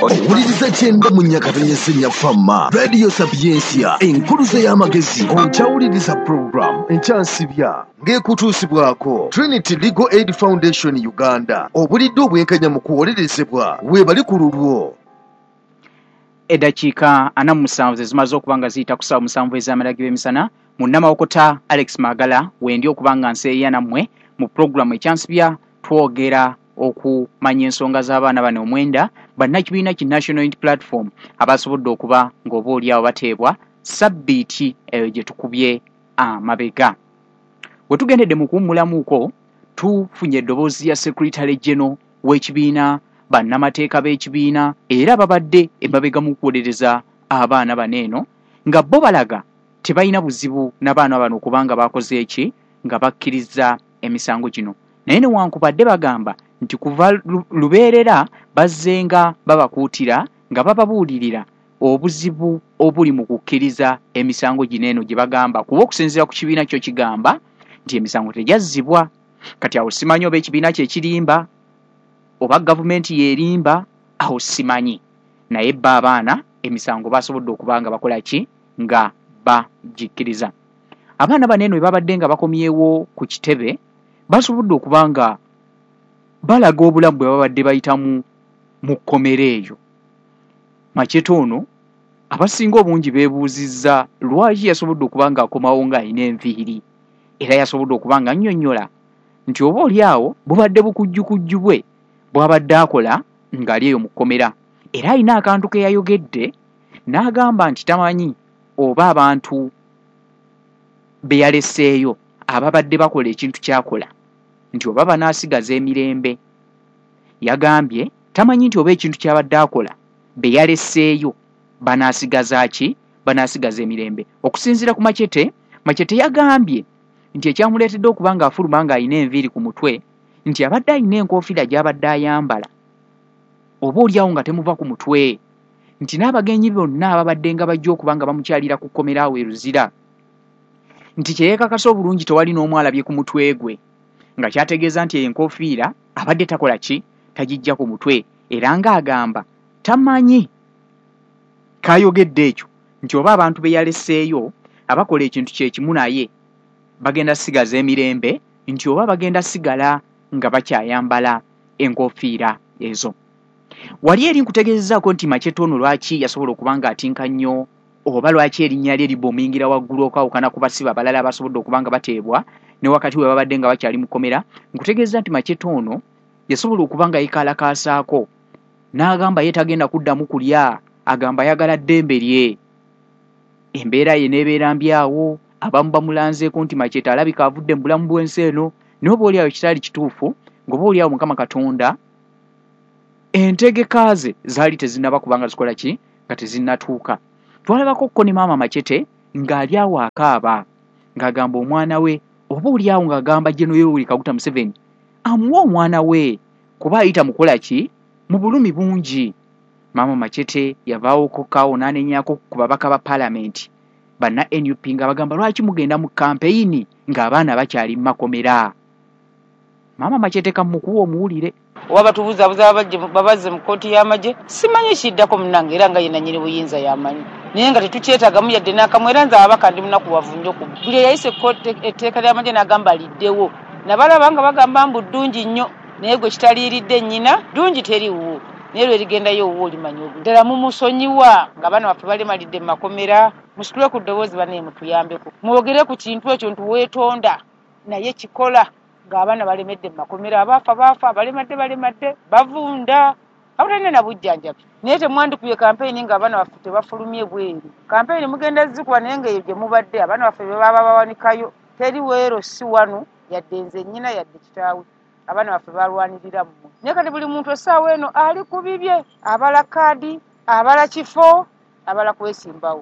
Owuliriza kyenda mu Nyakatonye Nnyafama Radio Sapiensia, enkuluze y'amagezi. Okyawuliriza program Ekyansibya ng'ekutuusibwako Trinity Legal Aid Foundation Uganda. Obulidde obwenkanya mu kuwolerezebwa weebali ku lulwo. Eddakiika 47 ze zimaze okuba nga ziyita ku ssaawa 7 ez'amalagi b'emisana. Munnamawokota Alex Magala wendi okuba nga nseeya nammwe mu pulogulaamu Ekyansibya. Twogera okumanya ensonga z'abaana bano 9 bannakibiina ki National Unity Platform abasobodde okuba ng'oba oli awo bateebwa sabbiiti eyo gye tukubye amabega. We tugendedde mu kuwummulamuuko, tufunye eddoboozi ya Secretary General w'ekibiina, bannamateeka b'ekibiina era babadde emabega mu kuwolereza abaana bano eno, nga bo balaga tebalina buzibu n'abaana bano kubanga bakoze eki nga bakkiriza emisango gino. Naye newankubadde bagamba nti kuva lubeerera bazzenga babakuutira nga bababuulirira obuzibu obuli mu kukkiriza emisango gino eno gye bagamba, kuba okusinziira ku kibiina kyo kigamba nti emisango tegyazzibwa. Kati awo simanyi oba ekibiina kye kirimba oba gavumenti yeerimba, awo simanyi. Naye bo abaana emisango basobodde okuba nga bakola ki nga bagikkiriza. Abaana bano eno bwe babadde nga bakomyewo ku kitebe, basobodde okuba nga balaga obulamu bwe babadde bayitamu mu kkomera eyo. Machete ono abasinga obungi beebuuzizza lwaki yasobodde okuba ng'akomawo ng'alina enviiri, era yasobodde okuba nga annyonnyola nti oba oli awo bubadde bukujjukujju bwe bw'abadde akola ng'ali eyo mu kkomera. Era alina akantu ke yayogedde n'agamba nti tamanyi oba abantu be yaleseeyo ababadde bakola ekintu ky'akola nti oba banaasigaza emirembe. Yagambye tamanyi nti oba ekintu ky'abadde akola be yaleseeyo banaasigaza ki, banaasigaza emirembe. Okusinziira ku Machete, Machete yagambye nti ekyamuleetedde okuba ng'afuluma ng'alina enviiri ku mutwe nti abadde alina enkofiira gy'abadde ayambala oba oli awo nga temuva ku mutwe, nti n'abagenyi bonna ababadde nga bajja okuba nga bamukyalira ku kkomera awo e Luzira nti kye yeekakasa obulungi tewali n'omu alabye ku mutwe gwe, nga kyategeeza nti enkofiira abadde takola ki, tagijja ku mutwe. Era ng'agamba tamanyi kayogedde ekyo nti oba abantu be yaleseeyo abakola ekintu kye kimu naye bagenda sigaza emirembe, nti oba bagenda sigala nga bakyayambala enkofiira ezo. Wali eri nkutegeezezaako nti Machete ono lwaki yasobola okuba ng'atinka nnyo oba lwaki erinnya lye libomingira waggulu okwawukana ku basibe abalala abasobodde okuba nga bateebwa ne wakati we babadde nga bakyali mu kkomera. Nkutegeeza nti Machete ono yasobola okuba nga yeekalakaasaako n'agamba ye tagenda kuddamu kulya, agamba ayagala ddembe lye. Embeera ye n'ebeera mbi awo, abamu bamulanzeeko nti Machete alabika avudde mu bulamu bw'ensi eno, naye oba oli awo kitaali kituufu, ng'oba oli awo Mukama Katonda entegeka ze zaali tezinnaba kubanga zikola ki nga tezinnatuuka. Twalabako ko ne maama Machete ng'ali awo akaaba ng'agamba omwana we, oba oli awo ng'agamba General Yoweri Kaguta Museveni amuwe omwana we kuba ayita mukola ki mu bulumi bungi. Maama Machete yavaawoko kaawo n'anenyaako ku babaka ba paalamenti banna NUP nga bagamba lwaki mugenda mu kampeyini ng'abaana bakyali mu makomera. Maama Machete kamukuwa omuwulire. Oba batubuzabuza babazze mu kkooti y'amagye, simanyi kiddako munnange, era nga ye nannyini buyinza y'amanyi, naye nga tetukyetaagamu yadde n'akamu. Era nze ababaka ndi munakuwavu nnyo ku buli eyayisa etteeka ly'amagye n'agamba liddewo, nabalaba nga bagamba mbu ddungi nnyo, naye gwe kitaliiridde nnyina ddungi teriiwo, naye lwe ligendayo owuwo olimanya obu. Ddala mumusonyiwa ng'abaana baffe balemalidde mu makomera, musitule ku ddoboozi bannaye mutuyambeko, mwogere ku kintu ekyo nti weetonda naye kikola ng'abaana balemedde mu makomera, abaafa baafa, abalemadde balemadde, bavunda, abatalina na bujjanjabi. Naye temwandikubye kampeyini ng'abaana baffe tebafulumye bweru. Kampeyini mugenda zikuba naye ng'eyo gye mubadde abaana baffe be baba bawanikayo, teri weero si wano yadde nze nnyina yadde kitaawe, abaana baffe balwanirira mmwe. Naye kati buli muntu essaawa eno ali ku bibye, abala kaadi, abala kifo, abala kwesimbawo.